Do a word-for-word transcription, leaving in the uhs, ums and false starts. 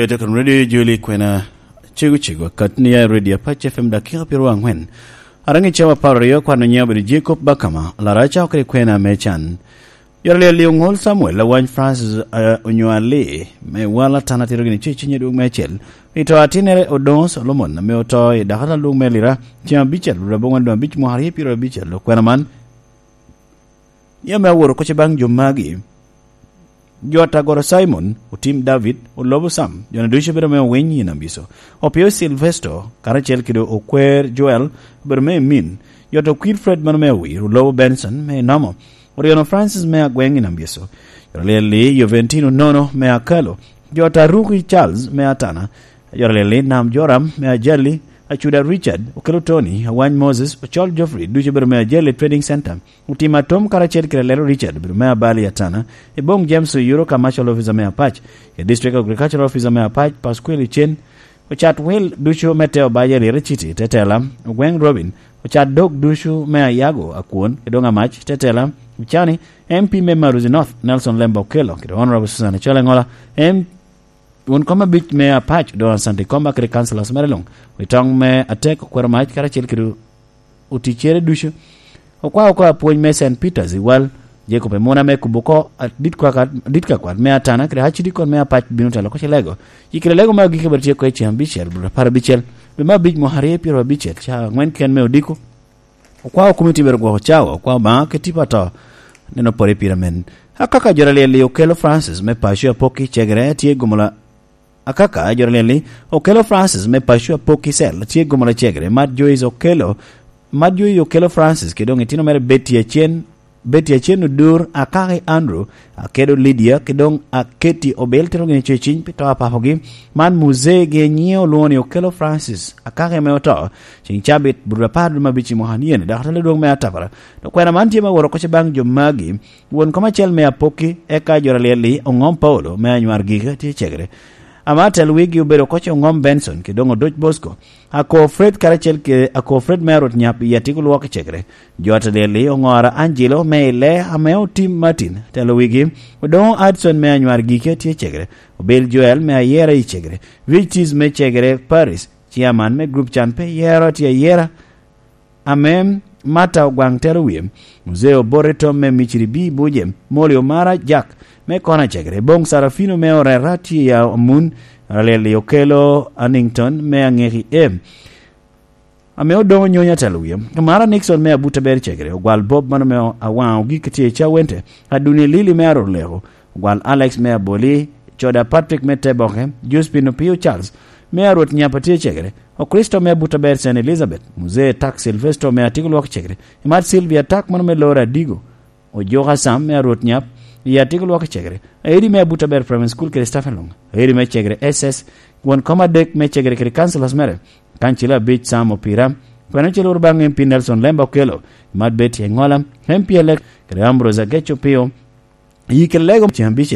Ete kan radio Joli kwena cego cego, kat ni ya radio Apac F M dakika piero angwen. Arangi cawa apar aryo, kwano nyiŋe obedo Jacob Bakama, Laraca okede kwena me can. Yore lyel i oŋol Samuel, awany Francis, eh, onyo Ali, me wala tana tito gini ce cinye dwog me acel. I to atinnere Odongo Solomon, ame oto i dakal adwog me Lira, ceŋ abicel, rwod aboŋwen doŋ abic mwaka aryo piero abicel, okwena man. Ni ame aworo koc baŋ jo magi, jo ata goro Simon, otim David, olobo Sam, jo-nu ducu obedo me owiny i Nambiso. Opio Silvesto, karacel kede okwer Joel, obedo me emin. Jo to kwir Fred mano me owir, olobo Benson, me enomo. Oryono Francis me agweŋ i Nambiso. Jo lyel-li, Joventino Nono me Akalo. Jo ta Ruki Charles me Atana. Jo lyel-li, Nam Joram me Ajali. Acuda Richard, Okelo Tony, Awany Moses, Ocol Geoffrey, ducu obedo me Ajali Trading Center. Otim atom karacel kede Lelo Richard, obedo me Abali Atana. Eboŋ James Oyuro, Commercial Officer me Apac. E District Agricultural Officer me Apac, Pasquale Chen. Ocat wil ducu me te Obaja Lira City, tetela. Ogweŋ Robin. Ocat dog ducu me Ayago, Akwon, Edong Amac, tetela. Ocani, M P me Maruzi North, Nelson Lemba Okello, kede Honorable Susan Achol Engola, M-, won kom abic me Apac, Don Santi Komba, kede councillors mere luŋ. Wi toŋ me atek, Okwero Mac, karacel kede oticcere ducu. Okwao oko apwony me Saint Peters i Wal, Jacob Emuna me kubo oko adit kwaka-, adit ka kwat me Atana, kede Archdeacon me Apac bino telo oko Cilego. Yikere lego me agikki bene tye oko i ceŋ abicel, dwe apar abicel, dwe me abic mwaka aryo piero abicel, ca angwen ken me odiko. Okwao komiti bene gwoko cawa, okwao Obaŋa kede tipo ato, neno pore pire men. Akaka jo lyel-li, Okelo Francis me Paco Apoki Cegere tye gumo la-, Akaka jo lyel-li, Okelo Francis me Paco Apoki Cell tye gumo la Cegere, Mat Joyce Okelo, Mat Joyce Okelo Francis, kede doŋ itino mere Betty Acen, Betty Acen Odur, Akaki Andrew, Akedo Lydia, kede doŋ Aketi Obel, tito gini ceciny pi to a papogi. Man muzee gi nyiŋe olwoŋo ni Okelo Francis, Akaki ame oto, ceŋ cabit, but apar dwe me abic i mwaka ni eni, dok atelo dwong me atapara. Dok kwena man tye me woro koc baŋ jo magi, won kom acel me Apoki, eka jo lyel-li, Oŋom Paulo, me Anywar Gika, tye Cegere. Ama tel wigi obedo koc Oŋom Benson, kede doŋ Odoc Bosco. Ako Fred karacel kede Ako Fred me Arot Nyap i Atiko Lwok i Cegere. Jo ata lyel-li, Oŋora Angelo me Ile ame otim Martin, telo wigi. Odoŋo Adson me Anywar Gike tye Cegere. Obel Joel me Ayera i Cegere. Vic Tis me Cegere Paris, chairman me group can pe yero tye Ayera. Ame Martha Ogwaŋ telo wie. Muzee Obote Tom me Miciri B Buje, Moli Omara Jack me Kona Cegere. Boŋ Sarafino me Orera tye ya Amun, Raleli Okelo Annington me Aŋeki M. Ame Odoŋo Nyonya telo wie. Omara Nixon me Abuta Ber Cegere, Ogwal Bob mano me Awaŋo Gik tye Cawente, Aduni Lili me Aroleko, Ogwal Alex me Aboli, Coda Patrick me Teboke, Josephine Opio Charles me Arwot Nyapa tye Cegere, Okristo me Abuta Ber Saint Elizabeth, Muzee Tak Silvesto me Atiko Lwok Cegere, Imat Sylvia Tak mano me Lora Adigo, Ojoka Sam me Arwot Nyap, i Atiko Lwok Cegere, Aeri me Abuta Ber Primary School kede Stephen Lung, Aeri me Cegere S S, won kom adek me Cegere kede councilors mere, kancilo abic Sam Opira, kwene ocel woro baŋ M P Nelson Lemba Okelo, Imat Betty Engola, M P elect, kede Ambrose Ageco Pio, Yi kede lego ceŋ abic